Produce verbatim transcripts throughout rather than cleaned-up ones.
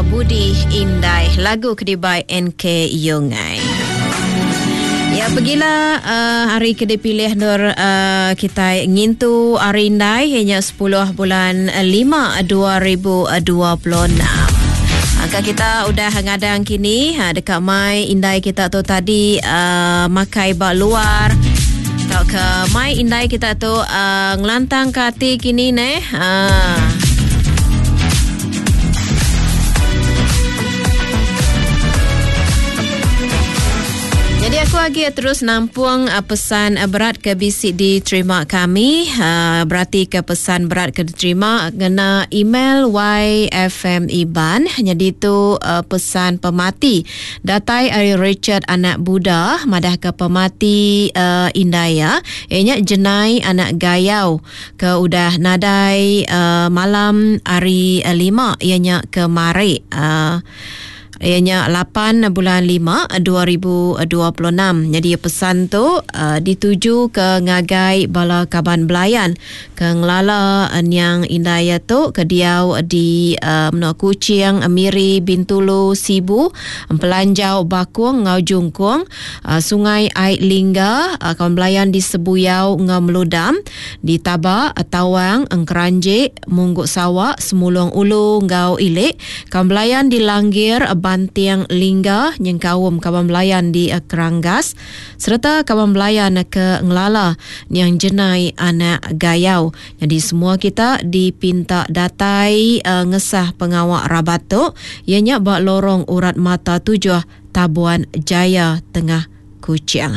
Budi Indai lagu ke dibai N K Yongai. Ya, pergilah uh, hari ke dipilih nur uh, kita ngintu hari Indai hanya sepuluh bulan lima dua ribu dua puluh enam. Angka kita udah ngadang kini ha, dekat mai indai kita tu tadi uh, makai ba luar. Tau ke mai indai kita tu uh, ngelantang ke hati kini neh. Uh. Jadi aku lagi terus nampung uh, pesan uh, berat ke bisi diterima kami. Uh, berarti ke pesan berat ke diterima ngena email Y F M Iban. Jadi tu uh, pesan pemati datai ari Richard anak Buddha madah ke pemati uh, Indaya ianya Jenai anak Gayau ke udah nadai uh, malam hari uh, lima ianya kemari. Uh, Ianya lapan bulan lima dua ribu dua puluh enam. Jadi pesan tu uh, dituju ke ngagai bala kaban belayan ke ngelala niang Indaya tu ke diau di uh, Menua Kuching, Miri, Bintulu, Sibu, Pelanjau, Bakung, Ngau Jungkung, uh, Sungai Ai Lingga, uh, kaban belayan di Sebuyau, Ngau Meludam, di Taba, Tawang, Engkeranjik, Mungguk Sawak, Semulung Ulu, Ngau Ilik, kaban belayan di Langgir, Bantiang Lingga, nyengkaum kaban belayan di Keranggas serta kaban belayan ke Ngelala yang Jenai anak Gayau. Jadi semua kita dipinta datai uh, ngesah pengawak rabat tu ianya bak lorong urat mata tujuh Tabuan Jaya Tengah Kuching.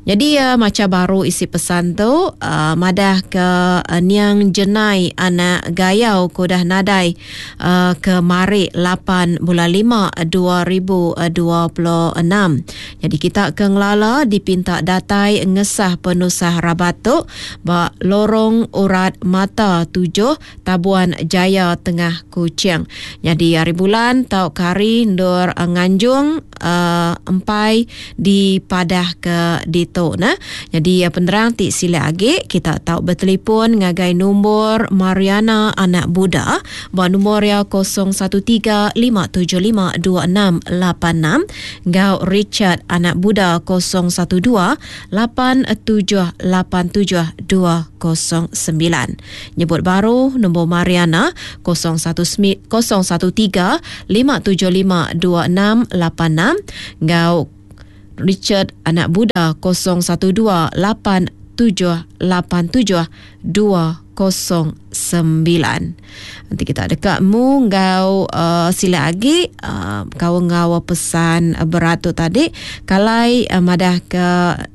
Jadi uh, macam baru isi pesan tu uh, madah ke uh, niang Jenai anak Gayau kodah nadai uh, ke mari lapan bulan lima dua ribu dua puluh enam. Jadi kita ke ngelala dipinta datai ngesah penusah rabat tu ba lorong urat mata tujuh Tabuan Jaya Tengah Kuching. Jadi hari bulan tau kari ndur uh, nganjung uh, empai di padah ke di tu nah. Jadi penerang ti sila agi kita tahu bertelefon ngagai nombor Mariana anak Buddha ba nombor ya kosong satu tiga lima tujuh lima dua enam lapan enam ngau Richard anak Buddha kosong satu dua lapan tujuh lapan tujuh dua kosong sembilan. Nyebut baru nombor Mariana kosong satu kosong satu tiga lima tujuh lima dua enam lapan enam ngau Richard anak Buddha kosong satu dua lapan tujuh lapan tujuh dua kosong sembilan. Nanti kita dekat mu ngau uh, sila lagi uh, kau ngau pesan uh, berat tu tadi kalai uh, madah ke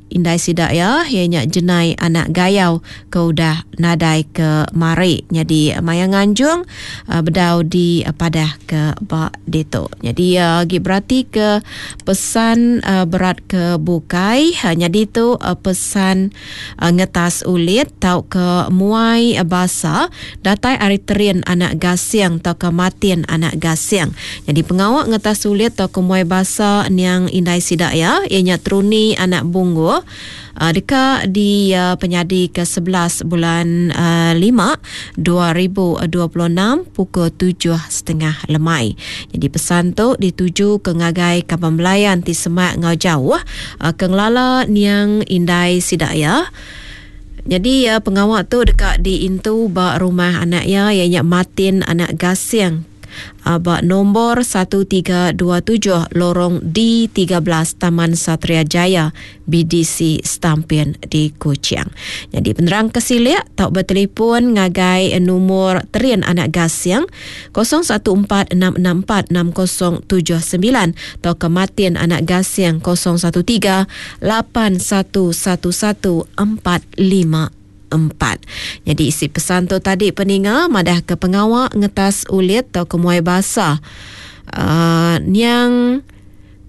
Indai sidak ya ianya Jenai anak Gayau ke udah nadai ke mari. Jadi maya nganjung uh, bedau di uh, padah ke bak deto. Jadi uh, gi berarti ke pesan uh, berat ke bukai. Uh, jadi tu uh, pesan uh, ngetas ulit tau ke muai uh, basa datai ari terin anak Gasiang tau ke matin anak Gasiang. Jadi pengawak ngetas ulit tau ke muai basa niang Indai sidak ya ianya Truni anak Bunggu. Uh, dekat di uh, penyadi ke sebelas bulan uh, lima dua ribu dua puluh enam pukul tujuh setengah lemai. Jadi pesan tu dituju ke ngagai kaban belayan ti semak ngau jauh uh, ke ngelala niang Indai sidak ya. Jadi uh, pengawak tu dekat di intu ba rumah anak ya ianya Martin anak Gasiang. Ba nombor satu tiga dua tujuh lorong D tiga belas Taman Satria Jaya B D C Stampin di Kuching. Jadi penerang kesilik tak bertelefon ngagai nombor Terin anak Gasiang kosong satu empat enam enam empat enam kosong tujuh sembilan atau ke Martin anak Gasiang kosong satu tiga lapan satu satu satu empat lima empat. Jadi isi pesan tu tadi peninga madah ke pengawak ngetas ulit atau ke muai basah. Uh, niang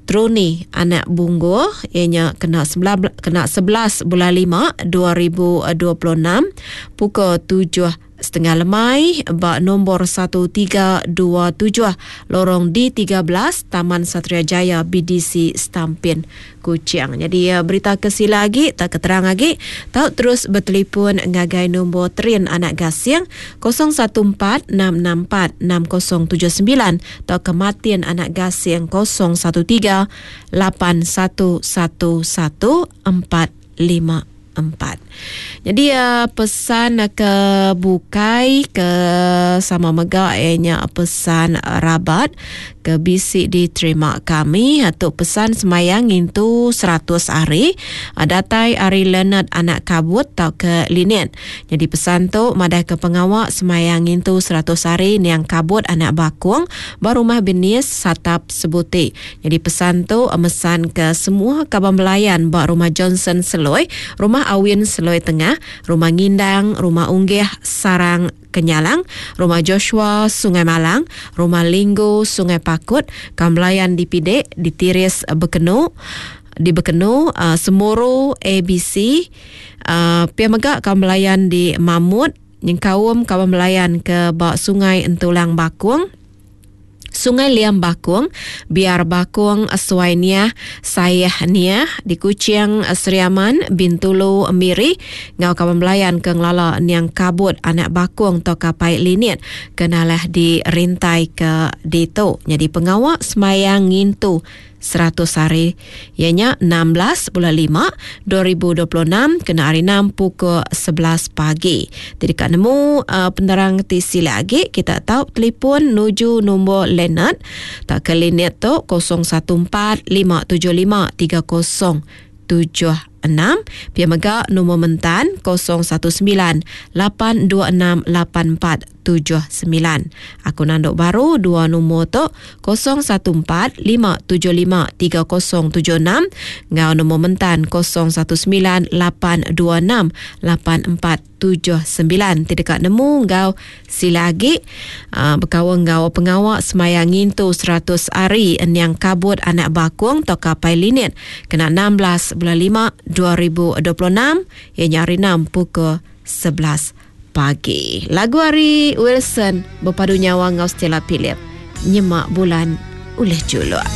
Truni anak Bunggu ianya kena sebelas, kena sebelas bulan lima dua ribu dua puluh enam pukul tujuh Setengah lemai ba nombor satu tiga dua tujuh Lorong D tiga belas Taman Satria Jaya B D C Stampin Kuching. Jadi berita ke sila lagi tak keterang lagi tau terus bertelefon ngagai nombor Terin Anak Gasing kosong satu empat enam enam empat enam kosong tujuh sembilan atau ke Martin Anak Gasing kosong satu tiga lapan satu satu satu empat lima empat. Jadi uh, pesan ke bukai ke sama mega ianya pesan rabat ke bisi diterima kami atau pesan semayang ngintu seratus hari datai ari Leonard Anak Kabut atau ke Linet. Jadi pesan tu madah ke pengawak semayang ngintu seratus hari niang Kabut Anak Bakung ba rumah Benis Satap Sebuti. Jadi pesan tu mesan ke semua kaban belayan ba rumah Johnson Seloi, rumah Awin Seloi Tengah, rumah Ngindang, rumah Unggih Sarang Kenyalang, rumah Joshua Sungai Malang, rumah Linggu Sungai Pakut, Kambelayan di Pidek, di Tiris Bekenu, di Bekenu, uh, Semuru A B C, uh, pia mega Kambelayan di Mamut, nyengkaum Kambelayan ke bak Sungai Entulang Bakung, Sungai Liam Bakung, Biar Bakung, Suai Niah, Sayah Niah, di Kuching, Seriaman, Bintulu, Miri, ngau kawan belayan ke ngelala niang Kabut Anak Bakung atau kapai Linit, kenalah di rintai ke ditu. Jadi pengawak semayang ngintu seratus hari, ianya enam belas bulan lima dua ribu dua puluh enam kena hari enam pukul sebelas pagi. Jadi kat nemu uh, penerang ti sila lagi kita tahu telefon nuju nombor Leonard tak ke Linet tu kosong satu empat lima tujuh lima tiga kosong tujuh enam. Pia mega nombor mentan kosong satu sembilan lapan dua enam lapan empat tujuh sembilan. Aku nanduk baru dua nombor tu kosong satu empat lima tujuh lima tiga kosong tujuh enam ngau nombor mentan kosong satu sembilan lapan dua enam lapan empat tujuh sembilan. Tidak kat nemu ngau sila lagi, uh, berkawan ngau pengawak semayang ngintu seratus hari niang Kabut Anak Bakung atau kapai Linit kena enam belas bulan lima dua ribu dua puluh enam ianya hari enam pukul sebelas pagi. Lagu hari Wilson berpadu nyawa ngau Stella Philip. Nyemak bulan ulih juluk.